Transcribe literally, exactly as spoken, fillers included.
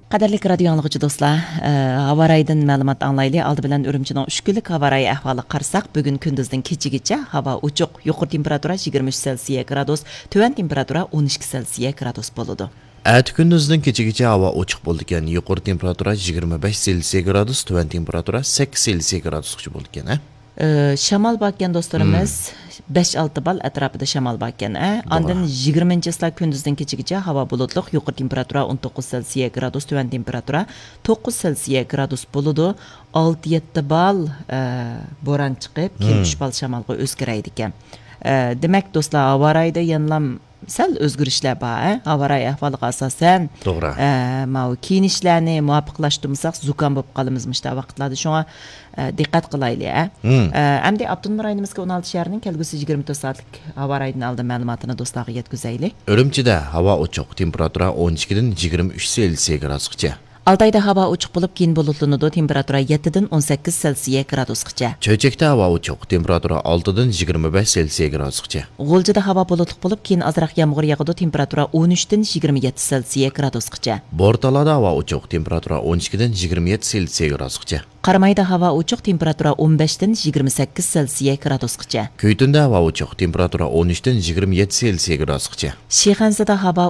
قەدىرلىك رادىيو ئاڭلىغۇچى دوستلار، ئە، ھاۋا رايىدىن مەلۇمات ئاڭلايلى. ئالدى بىلەن ئۈرۈمچىنىڭ ئۈچ كۈنلۈك ھاۋا رايى ئەھۋالىغا قارىساق، بۈگۈن كۈندۈزدىن كېچىگىچە ھاۋا ئوچۇق، يۇقىرى تېمپېراتۇرا يىگىرمە ئۈچ سېلسىيە گرادۇس، تۆۋەن تېمپېراتۇرا ئون ئىككى سېلسىيە گرادۇس بولىدۇ. ئەتە كۈندۈزدىن كېچىگىچە ھاۋا ئوچۇق بولىدىكەن، يۇقىرى تېمپېراتۇرا يىگىرمە بەش سېلسىيە گرادۇس، تۆۋەن تېمپېراتۇرا سەككىز سېلسىيە گرادۇسقىچە بولىدىكەن، ھە؟ ئە، شامال باركەن دوستلىرىمىز، بەش ئالتە بال ئەتراپىدا شامال باركەن، ئە. توغرا. ئاندىن يىگىرمىنچى چىسلا كۈندۈزدىن كېچىگىچە ھاۋا بۇلۇتلۇق، يۇقىرى تېمپېراتۇرا ئون توققۇز سېلسىيە گرادۇس، تۆۋەن تېمپېراتۇرا توققۇز سېلسىيە گرادۇس بولىدۇ. ئالتە يەتتە بال، ئە، بوران چىقىپ، كېيىن ئۈچ بال شامالغا ئۆزگىرەيدىكەن. ئە، دېمەك، دوستلار، ھاۋا رايىدا يەنىلام سەل ئۆزگىرىشلەر بار، ئە؟ ھاۋا رايى ئەھۋالىغا ئاساسەن، توغرا. ئە، ماۋۇ كىيىنىشلەرنى مۇۋاپىقلاشتۇرمىساق، زۇكام بولۇپ قالىمىز مۇشۇنداق ۋاقىتلاردا. شۇڭا، ئە، دىققەت قىلايلى، ئە؟ ئە، ئەمدى ئاپتونوم رايونىمىزغا ئون ئالتە شەھەرنىڭ كەلگۈسى يىگىرمە تۆت سائەتلىك ھاۋا رايىدىن ئالدىن مەلۇماتىنى دوستلارغا يەتكۈزەيلى. ئۈرۈمچىدە ھاۋا ئوچۇق، تېمپېراتۇرا ئون ئىككىدىن يىگىرمە ئۈچ سېلسىيە گرادۇسقىچە. ئالتايدا ھاۋا ئوچۇق بولۇپ، كېيىن بۇلۇتلىنىدۇ، تېمپېراتۇرا يەتتىدىن ئون سەككىز سېلسىيە گرادۇسقىچە. چۆچەكتە ھاۋا ئوچۇق، تېمپېراتۇرا ئالتىدىن يىگىرمە بەش سېلسىيە گرادۇسقىچە. غۇلجىدا ھاۋا بۇلۇتلۇق بولۇپ، كېيىن ئازراق يامغۇر ياغىدۇ، تېمپېراتۇرا ئون ئۈچتىن يىگىرمە يەتتە سېلسىيە گرادۇسقىچە. بورتالادا ھاۋا ئوچۇق، تېمپېراتۇرا ئون ئىككىدىن يىگىرمە يەتتە سېلسىيە گرادۇسقىچە. قارامايدا ھاۋا ئوچۇق، تېمپېراتۇرا ئون بەشتىن يىگىرمە سەككىز سېلسىيە گرادۇسقىچە. كۈيتۈندە ھاۋا ئوچۇق، تېمپېراتۇرا ئون ئۈچتىن يىگىرمە يەتتە سېلسىيە گرادۇسقىچە. شىخەنزىدە ھاۋا